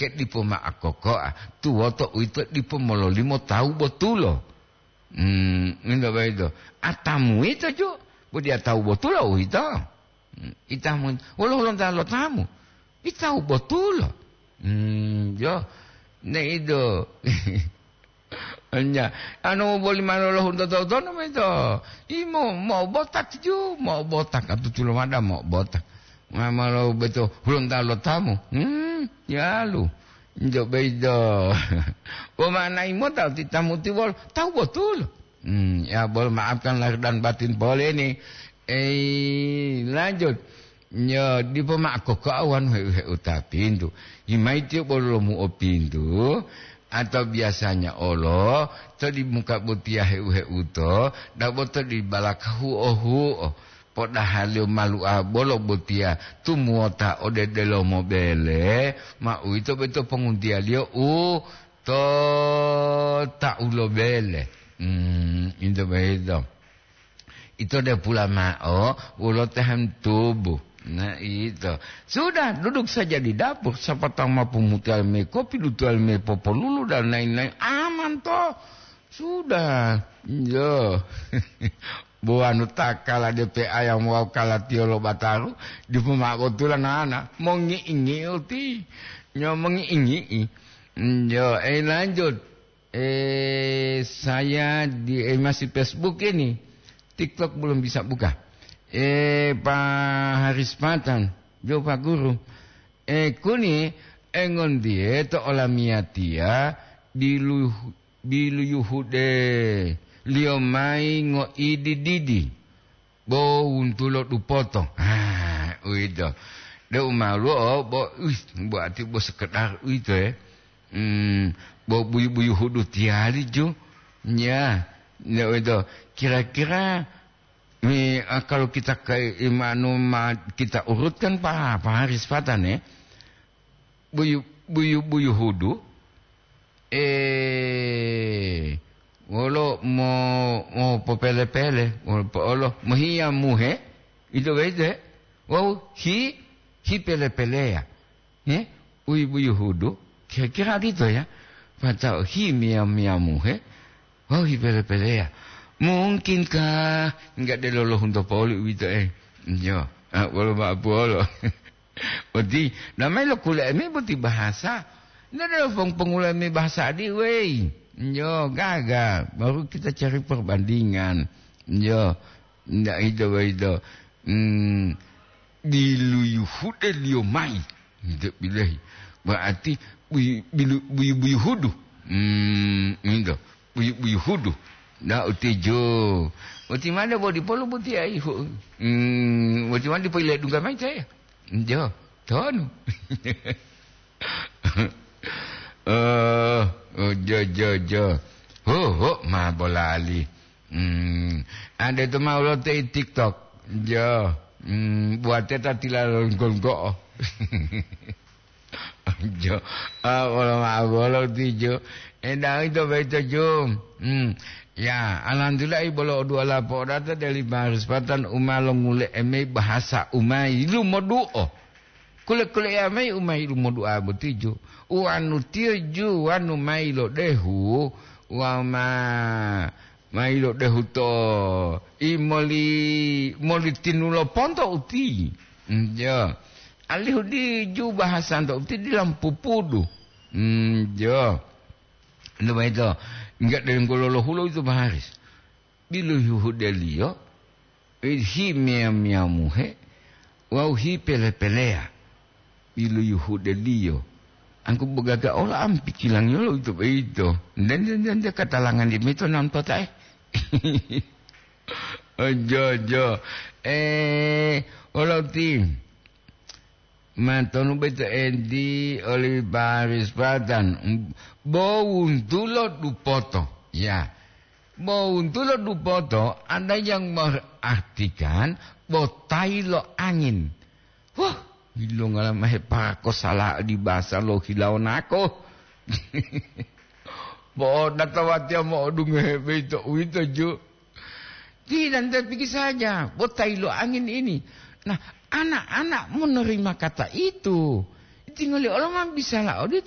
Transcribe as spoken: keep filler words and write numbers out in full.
ke dipo ma'akokoa, tuwoto uwito dipo mololimo tawu botulo. Hmm, ngointo boyito. Atamu yito ju, bo diya tawu botulo uwito. Hmm, itamu, wolo hulonta lo tamu. Itawu botulo. Hmm, jo. Ne ido. Enya, anu boli manu lo hunto totonu boyito. Imo, mo'obotak ju, mo'obotak, atutulo mada mo'obotak. Mamalo beto hulonta lo tamu. Hmm, yalu. Njo beido. Bo ma'anai mota ti tamu ti wolo, tawu botulo. Hmm, ya bol maafkan lahir dan batin pole ni. Eh, lanjut. Nyo dipo ma'o kokoa wanu heu-heuta pintu. Himai tiyo bolo lomu'o pintu, atau biasanya olo to di muka botiya heu-heuto, dabo to di balaka huo-huo. Podahaliyo malu'a bolo botiya tumuwota ode delomo bele, ma uwito boyito ponguntiyaliyo u to ta'u lo bele. Hmm, ito boyito. Ito depula ma'o wolo tahan tubuh. Nah, ito. Sudah, duduk saja di dapur. Siapa tahu mampu mutual me kopi, dutual me popolulu, dan lain-lain. Aman, toh. Sudah. Yo. Bo wanu ta kala depe ayam wawu kala tiyo lo bataru, dipo ma'o botula nana, mongi'i-ngi'i uti, nyo mongi'i-ngi'i. Njo, eh, lanjut. Eh, saya di, eh, masih Facebook ini. TikTok belum bisa buka. Eh, Pak Haris Patan, jo Pak Guru. Eh, kuni, engondiye to olamiyatiya bilu-, biluyuhude liyo mayi ngoidi-didi, bo wuntulo dupoto. Ah, uwito. De umaluwo, bo, uih, bo ati bo sekedar uwito, eh. Hmm, bo buyu-buyu hudu tiyali ju. Ya, ya uwito. Kira-kira, mi, ah, kalau kita ke-, imanu ma-, kita urutkan pa-, Pak Haris Patan, eh. Buyu-, buyu-buyu hudu, eh, wolo mo-, mopopele-pele, wolo po-, olo mohiya muhe, ito boyito, he? Wawu hi-, hipele-peleya, he? Uyi buyu hudu, kira-kira odito ya, pata'o himiya-miya muhe, wawu hipele-peleya. Mungkinkah enggak delo lohunto poli uwito, eh? Iyo, ah, wolo ma'o puwolo. Boti, namai lo kule'e mayi boti bahasa. Nda delo pong-, pongulami bahasa adi, wei. Yo, gaga. Baru kita cari perbandingan. Yo, nda ito boyito. Hmm, biluyuhude liyo mayi. Nda bilahi. Berarti buyu-, bilu-, buyu-, buyuhudu. Hmm, nda. Buyu-, buyuhudu. Nda utijo. Uti made bodi polu buti aihu. Hmm, uti made po ile dungga mayi caya. Jo, tonu. Eh, oh, jo, jo, jo. Ho, ho, ma bolali. Hmm, ade to mau lote i TikTok. Jo, hmm, buate ta tila longgo-longgo'o. Jo, ah, wolo ma'o bolo tijo. Enda ito boyito jo. Hmm, ya, alhamdulillah, i bolo odu'a lapo'o data deli Baris Patan u ma longule'e mayi bahasa u ma yilumodu'o. Kule-kuleya mayi u ma yilumodu'a boti ju. Uwanu tiyo ju wanu ma yilodehu, wawu ma, ma yilodehu to i moli, moli tinulo ponto uti. Njo. Alihu diju bahasanto uti dila mopupudu. Njo. Ito boyito, enggak dari ngololohulo itu Baris. Biluyuhudeliyo, himiya-miyamuhe wawu hipele-peleya. Biluyuhudeliyo. Angku bogaga ola am pikilangiyo lo ito boyito. Nde, nde, nde, nde katalangan di mito nam totae. Ojo, ojo. Eh, oloti. Matonu boyito enti oli Paris Patan, bo wuntulo dupoto, ya. Bo wuntulo dupoto ada yang mengartikan botai lo angin. Wah, ilongala mahe pako sala di basa lo hilawo nako. Bo data watiya mo'odungohe boyito uwito ju. Tidak, tidak pikir saja, botai lo angin ini. Nah, anak-anak menerima kata itu. Tingoli olo ma bisala odito.